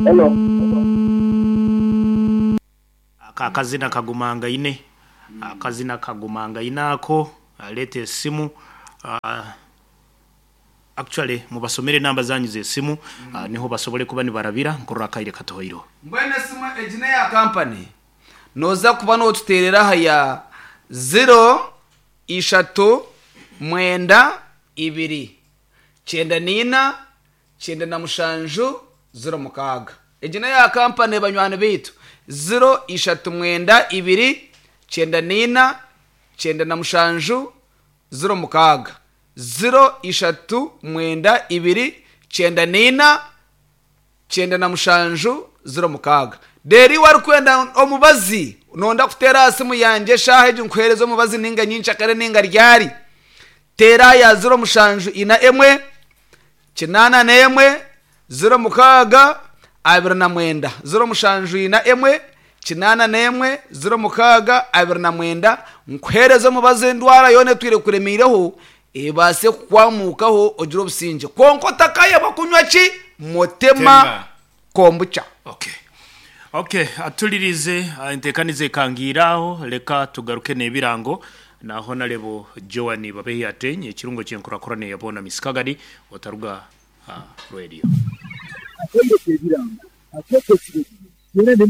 Hello. Ako akazina kagumangaine, akazina kagumangaine ako, leeta esimu. Actually mubasomere enamba zanyu z'esimu niho basobole kuba nibarabira nkorora akaire katuhoireho. Mbwenu esimu egi n'eya kampani, nooza kuba nootuteerera aha ya ziro ishatu mwenda ibiri 94 97 06. Egi n'eya kampani banywani baitu, ziro ishatu mwenda ibiri 94 97 06. Ziro ishatu mwenda ibiri 94 97 06. Reero iwe orikwenda omubazi, noyenda kuteera aha simu yangye eshaaha egi nkuheereze omubazi nainga nyenkyakare nainga ryari, teera aha ya 0741 81 06 29. 0741 81 06 29 nkuheereze omubazi endwara yoona etwire ekuremeireho ebaase kukwamukaho ogire obusingye. Kwonka otakayebwa kunywa ki? Motema Tema. Kombucha. Okay. Okay, atulirize entekaniza ekangiire aho, leka tugaruke n'ebirango na Honarebo Joan Babehi Ateenyi, ekirungo ky'enkurakurana eya boona Misikagadi, otaruga ha radio. Akaire k'ebirango akeekyo ekiro.